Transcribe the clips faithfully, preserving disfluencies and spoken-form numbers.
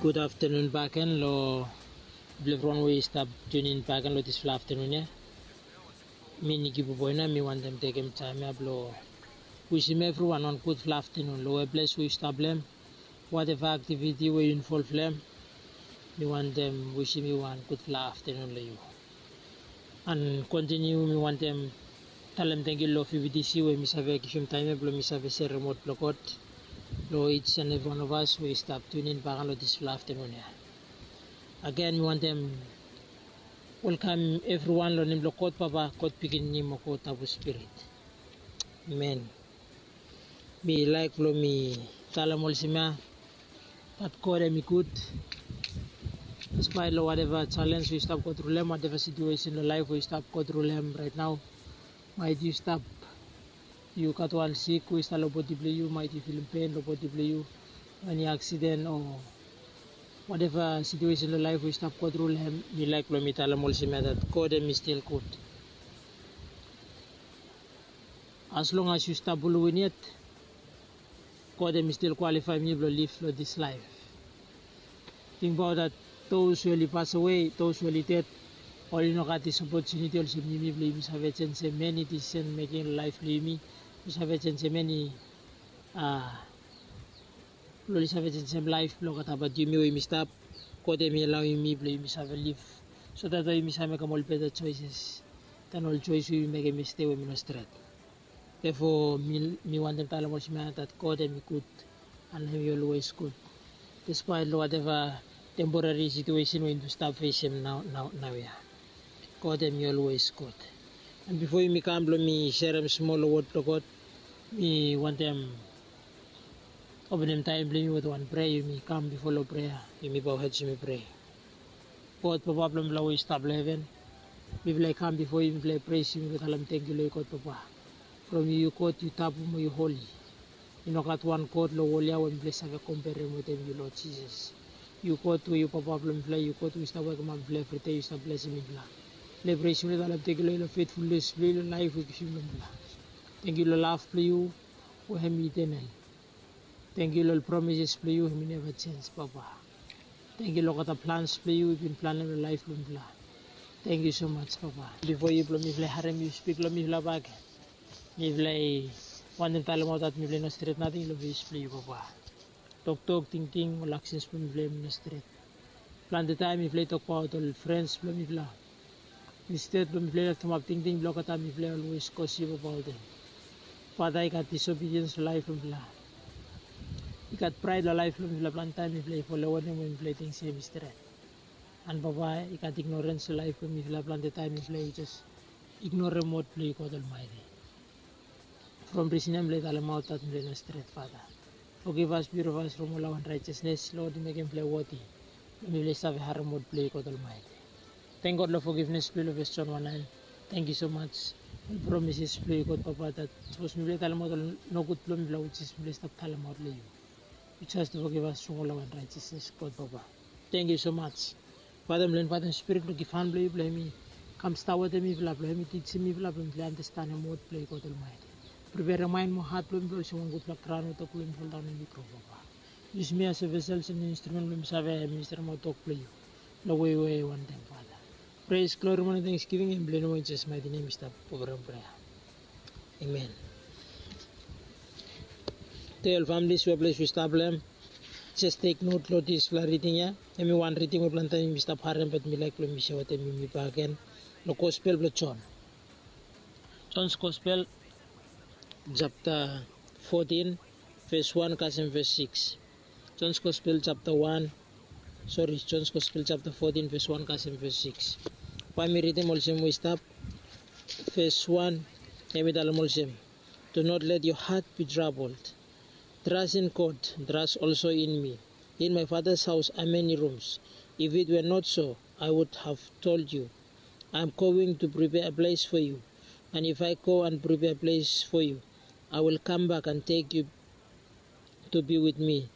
Gud aftenun bakegen lo evriwan we i stap tunin bakegen lo disfala aftenun ya. Mi Niki Buboina, mi wantem tekem taem ya blo wisim evriwan wan gudfala aftenun lo we ples we yu stap lo hem. Wateva aktiviti we yu involv lo hem, mi wantem wisim yu wan gudfala aftenun lo yu. An kontiniu mi wantem talem tangkiu lo V B T C we mi save givim taem ya blo mi save serem wod blo God lo each and every one of us we i stap tunin bakegen lo disfala aftenun ya. Agen mi wantem welkamem evriwan lo nem blo God Papa, God Pikinini mo God Tabu Spirit. Amen. Mi laek blo mi talem olsem ya, dat God hem i gud. Despaet lo wateva jalenj we yu stap go tru lo hem, wateva situesen lo laef we yu stap go tru lo hem raet nao, maet yu stap, yu gat wan sik we i stap lo bodi blo yu, maet yu filim pen lo bodi blo yu, eni aksiden o wateva situesen lo laef we yu stap go tru lo hem, mi laek blo mi talem olsem ya, dat God hem i stil gud. As long as yu stap buluv in yet, God hem i stil kwalifaem yu blo liv lo dis laef. Tingbaot dat those we oli pasawe, those we oli ded, oli no gat dis opotuniti olsem yumi blo yumi save jenisim eni disisen meking lo laef blo yumi, blo save jenisim eni, a, blo oli save jenisim laef blo olgetabaot yumi we yumi stap. God hem i alaoem yumi blo yumi save liv, so dat we yumi save mekem ol beta joeses dan ol joes we yumi mekem yestede we hem i no stret. Therefore mi, mi wantem talem olsem ya, dat God hem i gud, an hem i olwes gud. Despaet lo wateva temporary situesen we yumi stap fesem nao, nao, naoia, God hem i olwes gud. An bifo yumi kam blo mi serem smol lo wod blo God, mi wantem openem taem blo yumi wetem wan prea. Yumi kam bifo lo prea, yumi bow head, yumi prea. God Papa blo mifala we yu stap lo heven, mifala i kam bifo yu, mifala i pres yu, mifala i talem tangkiu lo yu God Papa. From yu, yu God, yu tabu mo yu holi. I no gat wan god lo wol ya we mifala i save komperem wetem yu, Lord Jesus. Yu God we yu Papa blo mifala, yu God we yu stap wokemap mifala evridei, yu stap blesem mifala. Mifala i pres yu, mifala i talem tangkiu lo yu lo fetfulnes blo yu lo laef we yu givim lo mifala. Tangkiu lo lav blo yu we hem i etenel. Tangkiu lo ol promises blo yu hem i neva jenj, Papa. Tangkiu lo olgeta plans blo yu we yu bin planem lo laef blo mifala. Tangkiu so maj, Papa. Bifo yu blo mifala i harem yu spik lo mifala bakegen, mifala i wantem talemaot dat mifala i no stret nating lo fes blo yu, Papa. Toktok, tingting, ol aksens blo mifala hem i no stret. Plante taem mifala i tokbaot ol frens blo mifala. Insted blo mifala i leftemap tingting blo olgeta, mifala i olwes gosip abaot hem. Fata, i gat disobediens lo laef blo mifala. I gat praed lo laef blo mifala. Plante taem mifala i folo wanem we mifala i ting se hem i stret. An Papa, i gat ignorens lo laef blo mifala. Plante taem mifala i jes ignorem wod blo yu, God Almighty. From risen ya mifala i talemaot dat mifala i no stret, Fata. Fogivas, piurifas from ol unraejesnes, Lord, i mekem mifala i woti blo mifala i save harem wod blo yu, God Almaeti. Tang God lo fogivnes blo yu lo ves Jon wan naen. Tangkiu so maj. Ol promises blo yu, God Papa, dat sapos mifala i talemaot ol nogud blo mifala, we jes mifala i stap talemaot lo yu, yu jes fogivas from ol unraejesnes, God Papa. Tangkiu so maj. Fata, mifala i invaetem Spirit blo givhan blo yu blo hem i kam stap wetem mifala, blo hem i tijim mifala, blo mifala i andastanem wod blo yu, God Almaeti. Priperem maen mo hat blo mifala olsem wan gudfala graon we tok blo mifala i foldaon hem i gro, Papa. Yusum mi asem vesel, olsem instrumen blo mi save ministremaot tok blo yu lo wei we yu wantem, Fata. Pres, glori mo tangsgiving hem blo yu, lo Jisas maeti nem mi stap oferem prea. Amen. Tude ol famili, sua ples we yu stap lo hem, jes tek not lo disfala riding ya. Hem i wan riding we plante taem yumi stap harem, be mi laek blo mi sea wetem yumi bakegen lo Gospel blo Jon. Jon's Gospel, japta fotin, ves wan kasem ves sikis. Jon's Gospel japta wan, sori, Jon's Gospel japta fotin, ves wan kasem ves sikis. Bae mi ridim olsem we i stap. Ves wan, hem i talem olsem, "Do not let your heart be troubled. Trust in God, trust also in me. In my Father's house are many rooms. If it were not so, I would have told you. I am going to prepare a place for you. And if I go and prepare a place for you, I will come back and take you to be with me,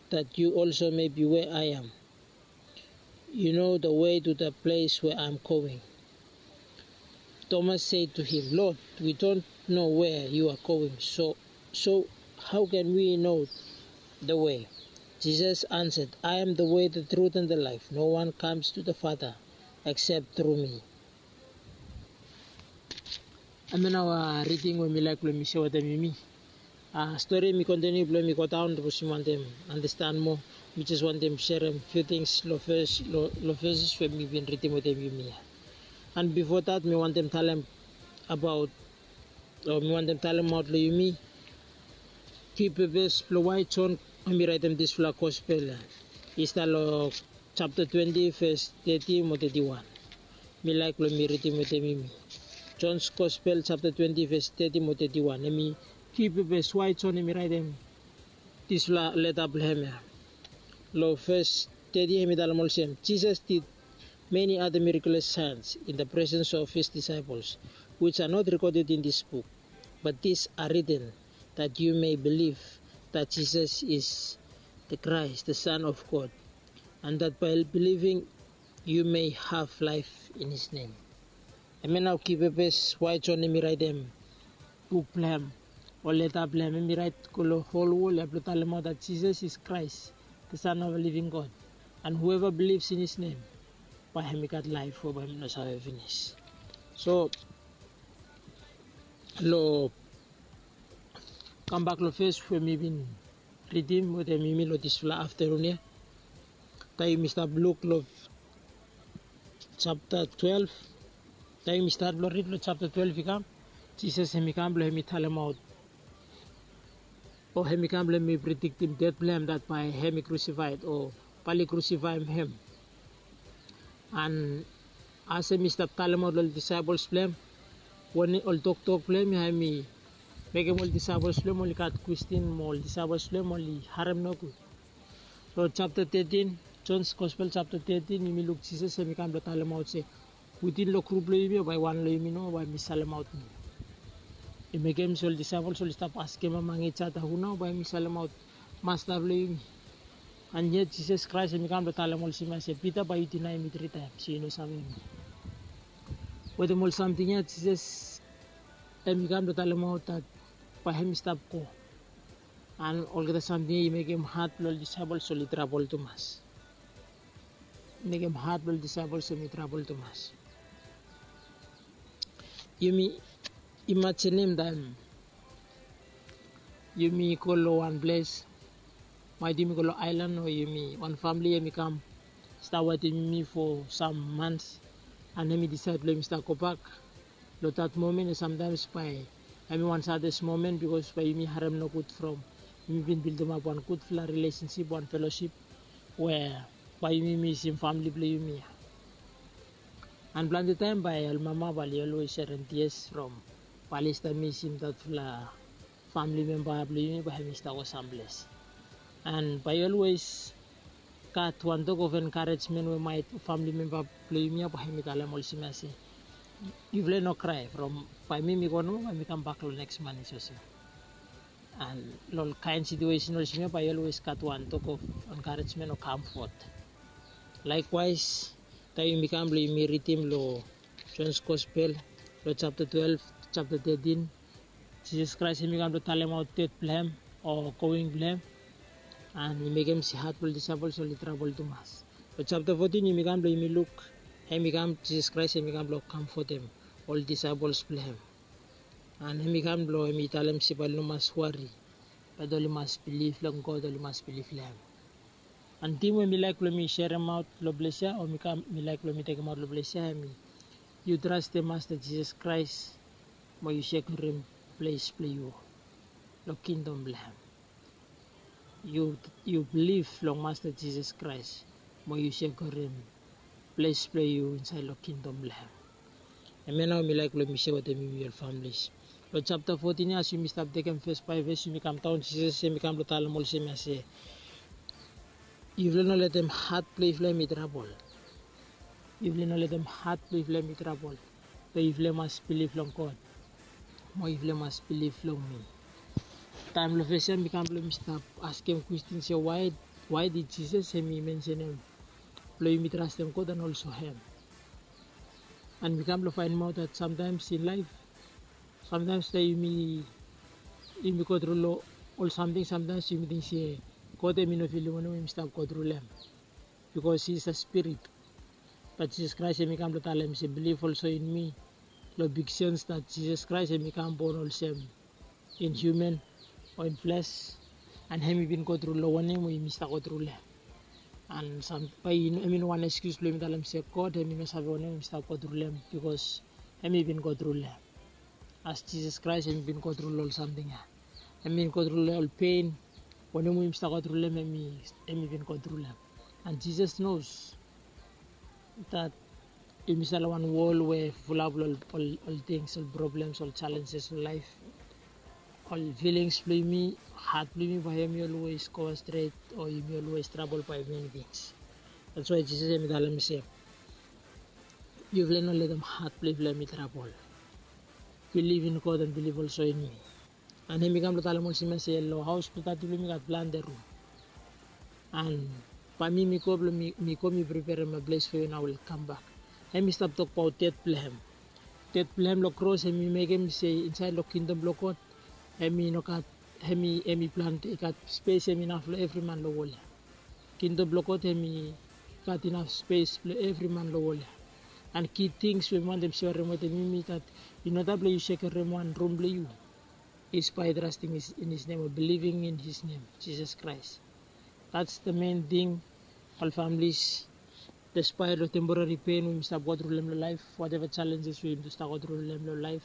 that you also may be where I am. You know the way to the place where I am going." Thomas said to him, "Lord, we don't know where you are going, so, so how can we know the way?" Jesus answered, "I am the way, the truth, and the life. No one comes to the Father except through me." Hemia nao riding we mi laek blong mi share wetem yumi. Stori mi kontiniu blong mi godaon, sapos yumi wantem andastan moa. Mi jes wantem serem few things long fes long feses we mi bin ridim wetem yumi ya. And bifo dat mi wantem talem abaot o mi wantem talemaot long yumi ki pepes blong wae Jon hemi raetem disfala gospel ya. I stap long japta twenti ves teti mo teti wan. Mi laek blong mi ridim wetem yumi. Jon's Gospel japta twenti ves teti mo teti wan. Hemi ki pepes wae Jon hemi raetem disfala leta blong hem ya. Long ves teti hemi talem olsem, Jesus did many other miraculous signs in the presence of his disciples, which are not recorded in this book. But these are written that you may believe that Jesus is the Christ, the Son of God, and that by believing you may have life in his name. Hemia nao ki pepes wae Jon hemi raetem buk blong hem o leta blong hem, hemi raet go long hol wol ya blong talemaot that Jesus is Christ, the Son of a living God, and whoever believes in his name, bae hemi gat laef we bae hemi no save finis. So long kambak long ves we mi bin ridim wetem yumi long disfala aftanun ya. Taem yumi stap luk long japta twelve, taem yumi stat blong rid long japta twelve i kam, Jisas hemi kam blong hemi talemaot o hemi kam blong hemi prediktim det blong hem, dat bae hemi krusifaed o bae oli krusifaem hem. And as hemi stap talemaot long ol disaepels blong hem, wanem ol toktok blong hem ya, hemi mekem ol disaepels blong hem oli gat kwestin mo ol disaepels blong hem oli harem nogud. Long japta tetin, Jon's Gospel japta tetin, yumi luk Jisas hemi kam blong talemaot se, witin long grup blong yumi ya bae wan long yumi nomo bae hemi salemaot mi. I mekem se ol disaepels oli stap askem among each other, hu nao bae hemi salemaot Masta blong yumi? And yet Jisas Kraes hemi kam blong talem olsem ya se, Pita, bae yu dinaem mi tri taems, yu no savem mi. Wetem ol samting ya Jisas hemi kam blong talemaot dat bae hemi stap go. And olgeta samting ya i mekem hat blong ol disaepels oli trabol tumas. I mekem hat blong ol disaepels hemi trabol tumas. Yumi imajinim taem yumi go long wan ples, maet yumi go long aelan o yumi wan famili hemi kam stap wetem yumi fo sam mans, and hemi disaed blong hemi stap gobak. Long dat momen ya samtaems bae hemi wan sadest momen, bikos bae yumi harem nogud from yumi bin bildimap wan gudfala rilesensip, wan felosip we bae yumi misim famili blong yumi ya. And plante taem bae ol mama bae oli olwes serem tias from bae oli stap misim datfala famili memba blong yumi bae hemi stap go samples. And bae yu olwes gat wan tok of enkarejmen we maet famili memba blong yumi ya bae hemi talem olsem ya se, yufala i no krae, from bae mi mi go nomo, bae mi kambak long neks man i soso. And long ol kaen situesen olsem ya bae yu olwes gat wan tok of enkarejmen o kamfot. Laekwaes taem yumi kam blong yumi ridim long Jon's Gospel long japta twelve, japta tetin, Jisas Kraes hemi kam blong talemaot det blong hem o going blong hem. And i mekem se hat blong ol disaepels oli trabol tumas. Long japta fotin yumi kam blong yumi luk, hemi kam, Jisas Kraes hemi kam blong kamfotem ol disaepels blong hem. And hemi kam blong hemi talem se bae oli no mas wari, bat oli mas bilif long God, oli mas bilif long hem. And tim we mi laek blong mi seremaot long ples ya, o mi kam mi laek blong mi tekemaot long ples ya, hemi, yu trastem Masta Jisas Kraes mo yu sekiurim ples blong yu long kingdom blong hem. Yu, yu bilif long Masta Jisas Kraes mo yu sekiurim ples blong yu insaed long kingdom blong hem. Hemia nao mi laek blong mi sea wetem yumi ol familis. Long japta fotin ya, as yumi stap tekem ves bae ves, yumi kamdaon, Jisas hemi kam blong talem olsem ya se, yufala no letem hat blong yufala hemi trabol. Yufala no letem hat blong yufala hemi trabol. Be yufala mas bilif long God mo yufala mas bilif long mi. Taem long ves ya mi kam blong mi stap askem kwestin se, wae, wae did Jisas hemi mensenem blong yumi trastem God and also hem? And mi kam blong faenemaot dat samtaems in laef, samtaems taem yumi, yumi go tru long ol samting, samtaems yumi ting se God hemi no filim wanem we yumi stap go tru long hem, bikos hi is a spirit. Bat Jisas Kraes hemi kam blong talem se, bilif olsem in mi, long big sens dat Jisas Kraes hemi kam bon olsem in hiuman o in fles, an hemi bin go tru long wanem we yumi stap go tru long hem. An bae hemi no wan ekskius blong yumi talem se God hemi no save wanem we yumi stap go tru long hem, bikos hemi bin go tru long hem. As Jisas Kraes hemi bin go tru long ol samting ya, hemi bin go tru long ol pen, wanem we yumi stap go tru long hem, hemi bin go tru long hem. An Jisas nos dat yumi stap long wan wol we fulap long ol tings, ol problems, ol challenges long laef. Ol filings blong yumi, hat blong yumi, bae hemi olwes go stret, o yumi olwes trabol bae meni tings. That's why Jisas hemi talem se, yufala no letem hat blong yufala hemi trabol. Bilif in God an bilif olsem in mi. An hemi kam blong talem olsem ya se, long haos blong Tati blong mi gat plante rum. An bae mi mi go blong mi go mi preperem wan ples fo yu, an ae wi kambak. Hemi stap tokbaot ded blong hem. Ded blong hem long kros hemi mekem se insaed long kingdom blong God hemi no gat, hemi, hemi plante, i gat spes hemi inaf long evri man long wol ya. Kingdom blong God hemi gat inaf spes blong evri man long wol ya. An ki tings we mi wantem serem wetem yumi dat i no taem blong yu sekerem wan rum blong yu. Is by trusting in his name o believing in his name, Jisas Kraes. That's the main thing, ol families. Despite long temporary pain we yumi stap go tru long hem long laef, whatever challenges we yumi stap go tru long hem long laef,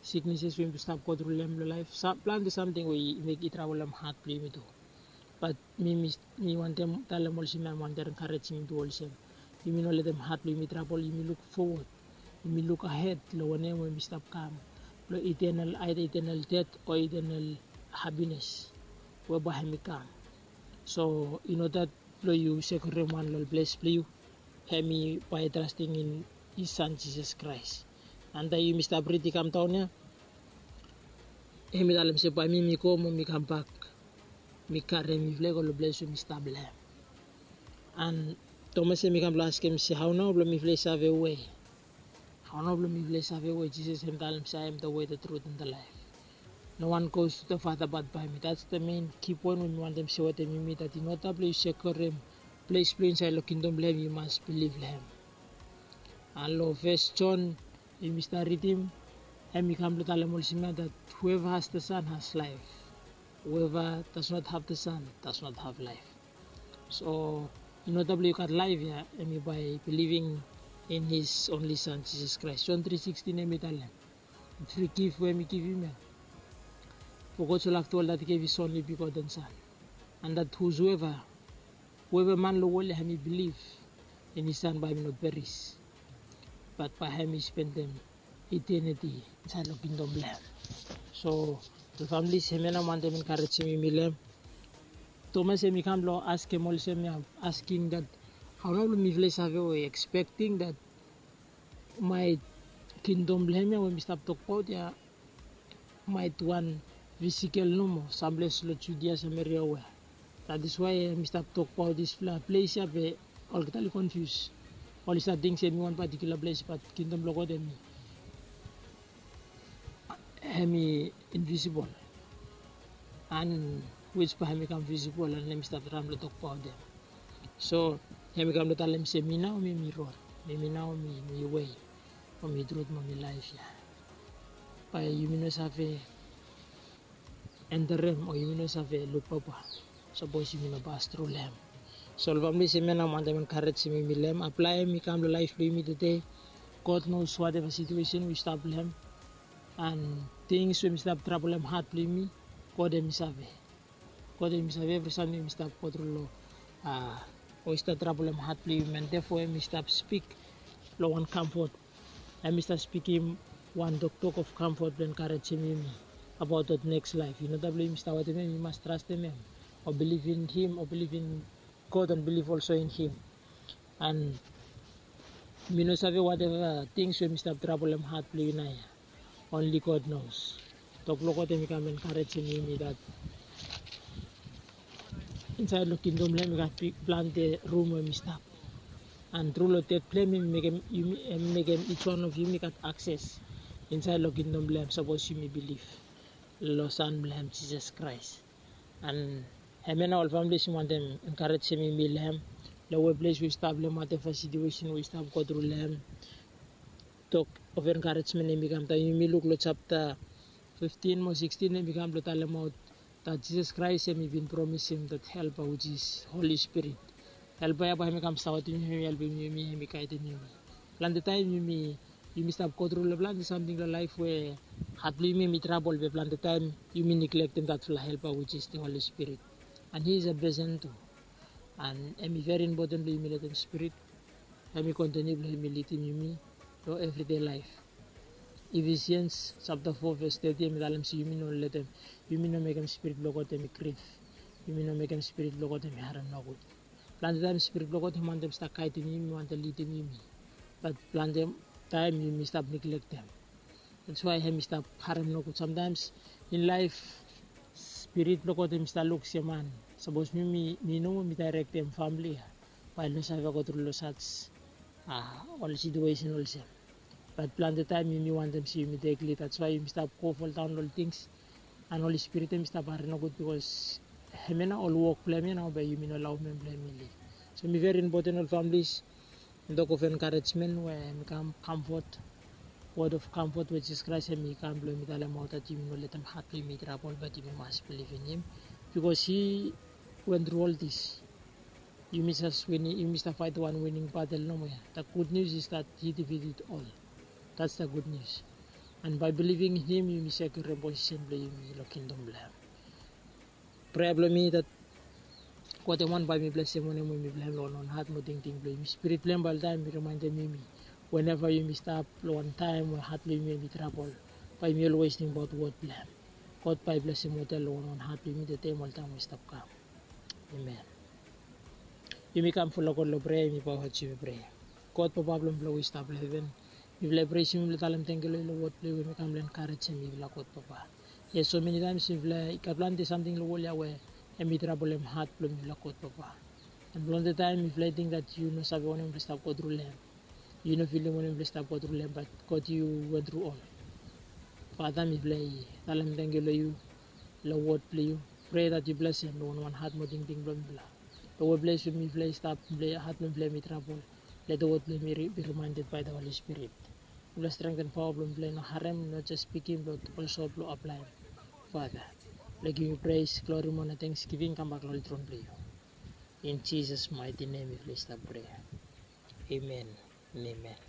sicknesses we yumi stap go tru long hem long laef, plante samting we i mekem i trabol hem hat blong yumi tu. Bat mi, mi wantem talem olsem ya, mi wantem enkarejim yumi tu olsem, yumi no letem hat blong yumi trabol, yumi luk fowod, yumi luk ahed long wanem we yumi stap kam, long eternal, either eternal death o eternal happiness we bae hemi kam. So i no dat blong yu sekerem wan long ples blong yu, hemi by trusting in his Son Jesus Christ. An taem yumi stap rid i kam daon ya, hemi talem se bae mi mi go mo mi kambak, mi karem yufala i go long ples we mi stap long hem. An Tomas hemi kam blong askem se, hao nao blong mifala i save we? Hao nao blong mifala i save we? Jisas hemi talem se, I am the way, the truth and the life. No one goes to the Father but by me. That's the main key point we mi wantem se wetem yumi, dat i no taem blong yu sekerem ples blong yu insaed long kingdom blong hem, yu mas bilif long hem. An long First John yumi stap ridim, hemi kam blong talem olsem ya, dat whoever has the Son has life. Whoever does not have the Son does not have life. So i no taem blong yu gat laef ya, hemi by believing in his only Son, Jesus Christ. John three sixteen hemi talem, fri gif we hemi givim ya. For God so loved the world that he gave his only begotten Son, and that whosoever, whoever man long wol ya hemi bilif in his Son bae hemi no peris, bat bae hemi spendem eternity insaed long kingdom blong hem. So ol families, hemia nao mi wantem enkarejim yumi long hem. Tomas hemi kam blong askem olsem ya, asking dat, hao nao blong mifala i save we? Expecting dat maet kingdom blong hem ya we mi stap tokbaot ya maet wan fisikel nomo samples long Judia, Sameria, we. That is why hemi stap tokbaot disfala ples ya, be olgeta oli konfius. Oli save ting se hemi wan patikula ples, bat kingdom blong God hemi, hemi invisibol, an wich bae hemi kam visibol an hemi stap traem blong tokbaot hem. So hemi kam blong talem se, mi nao mi, mi rod, mi, mi nao mi, mi wei, mo mi trut, mo mi laef ya. Bae yumi no save enterem, o yumi no save luk Papa sapos yumi no pas tru long hem. So ol families, hemia nao mi wantem enkarejim yumi long hem. Aplaem i kam long laef blong yumi tede. God knows whatever situation we yu stap long hem. An tings we hemi stap trabolem hat blong yumi, God hemi save. God hemi save evri samting we yumi stap go tru long, a, we i stap trabolem hat blong yumi. An therefore hemi stap spik long wan kamfot. Hemi stap spikim wan toktok of kamfot blong enkarejim yumi abaot dat neks laef. I no taem blong yumi stap wetem hem, yu mas trastem hem, o bilif in him, o bilif in God an bilif olsem in him. An mi no save whatever tings we hemi stap trabolem hat blong yu naoia. Only God knows. Tok blong God hemi kam enkarejim yumi dat insaed long kingdom blong hem i gat plante rum we hemi stap. An tru long ded blong hem, hemi mekem yumi, hemi mekem each one of yumi gat akses insaed long kingdom blong hem sapos yumi bilif long Son blong hem, Jisas Kraes. An Hemia nao ol families mi wantem enkarejem yumi long hem, long weples we yu stap, long whatever situation we yu stap go tru long hem. Tok of enkarejemen hem i kam taem yumi luk long japta fiftin mo sikstin, hem i kam blong talemaot dat Jisas Kraes hem i bin promisim dat helpa, which is Holy Spirit. Helpa ya bae hem i kam stap wetem yumi, hem i helpem yumi, hem i gaedem yumi. Plante taem yumi yumi stap go tru long plante samting long laef we hat blong yumi hem i trabol, be plante taem yumi niglektem datfala helpa, which is the Holy Spirit. And he is a person too. And hem i very important blong yumi letem Spirit hem i kontiniu blong hem i lidim yumi long everyday laef. Ephesians japta fo ves teti hem i talem se yumi no letem, yumi no mekem Spirit blong God hem i grif. Yumi no mekem Spirit blong God hem i harem nogud. Plante taem Spirit blong God hem wantem stap gaedem yumi, wantem lidim yumi. Bat plante taem yumi stap niglektem. That's why hem i stap harem nogud. Sometimes in life, Spirit blong God hem i stap luk se man, sapos mi, mi, mi nomo mi daerektem famili ya, bae i no save go tru long saj, a, ol situation olsem. Bat plante taem yumi wantem se yumi tek lid, that's why yumi stap go foldaon long ol tings. And Holy Spirit hem i stap harem nogud, bikos hemia nao ol wok blong hem ya nao bae yumi no laoem hem blong hem i lid. So hem i very important ol families. Tok of enkarejemen we hem i kam, comfort, word of comfort we Jisas Kraes hem i kam blong hem i talemaot dat yumi no letem hat blong yumi i trabol, bat yumi mas bilivim hem, bikos he went tru ol dis. Yumi jes winim, yumi stap faet wan wining batel nomo ya. The good news is that he defeated all. That's the good news. And by believing in him yumi sekiurem posisen blong yumi long kingdom blong hem. Prea blong mi dat God hem i wantem bae mi blesem wanem we mi blong hem long wan hat mo tingting blong yumi. Spirit blong hem bae oltaem i rimaendem yumi, whenever yumi stap long wan taem we hat blong yumi hem i trabol, bae yumi olwes tingbaot wod blong hem. God bae i blesem oltaem long wan hat blong yumi, tede mo oltaem we i stap kam. Amen. Yumi kam fulap God long prea, yumi paoa yumi prea. God Papa blong mifala we i stap long heven, mifala i presim yu, mifala i talem tangkiu long yu long wod blong yu we hem i kam long enkarejem mifala, God Papa. Yes, so many times mifala i gat plante samting long wol ya we hem i trabolem hat blong mifala, God Papa. And plante taem mifala i ting dat yu no save wanem mifala i stap go tru long hem. Yu no filim wanem mifala i stap go tru long hem, bat God yu went tru ol. Fata, mifala i talem tangkiu long yu long wod blong yu. Prea dat yu blesem long wan wan hat mo tingting blong mifala. Long weples we mifala i stap, mifala i, hat blong mifala hem i trabol, let the word blong hem i ri-, be reminded by the Holy Spirit. Mifala strengthen, paoa blong mifala i no harem, no jes spikim, bat olso blong aplaem. Fata, mifala givim yu pres, glori mo na tangsgivim i kambak long oli tron blong yu. In Jesus' mighty name mifala i stap prea. Amen. Amen.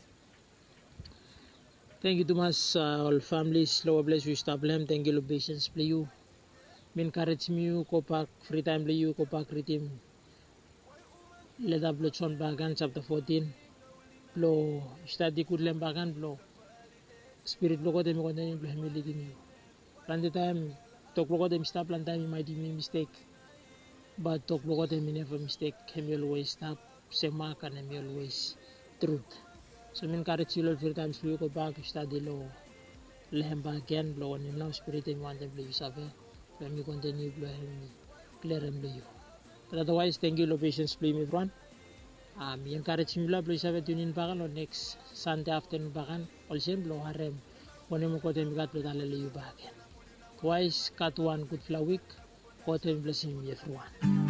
Tangkiu tumas, a, ol families long weples we yu stap long hem, tangkiu long pesens blong yu. Mi enkarejem yu gobak, fri taem blong yu gobak ridim leta blong Jon bakegen, japta fotin, blong yu stadi gud long hem bakegen, blong Spirit blong God hem i kontiniu blong hem i lidim yu. Plante taem tok blong God hem i stap, plante taem i maet yumi mistek, bat tok blong God hem i neva mistek, hem i olwes stap semak and hem i olwes trut. So mi enkarejem yu long ol fri taems blong yu gobak, yu stadi long, long hem bakegen, blong wanem nao Spirit hem i wantem blong yu save, blong hem i kontiniu blong hem i kliarem long yu. Bat otherwise, tangkiu long pesens blong yumi evriwan. A, mi enkarejem yufala blong yu save tune in bakegen long neks Sande aftanun bakegen, olsem blong harem wanem we God hem i gat blong tale long yu bakegen. Otherwise, gat wan gudfala wik. God hem i blesem yumi evriwan.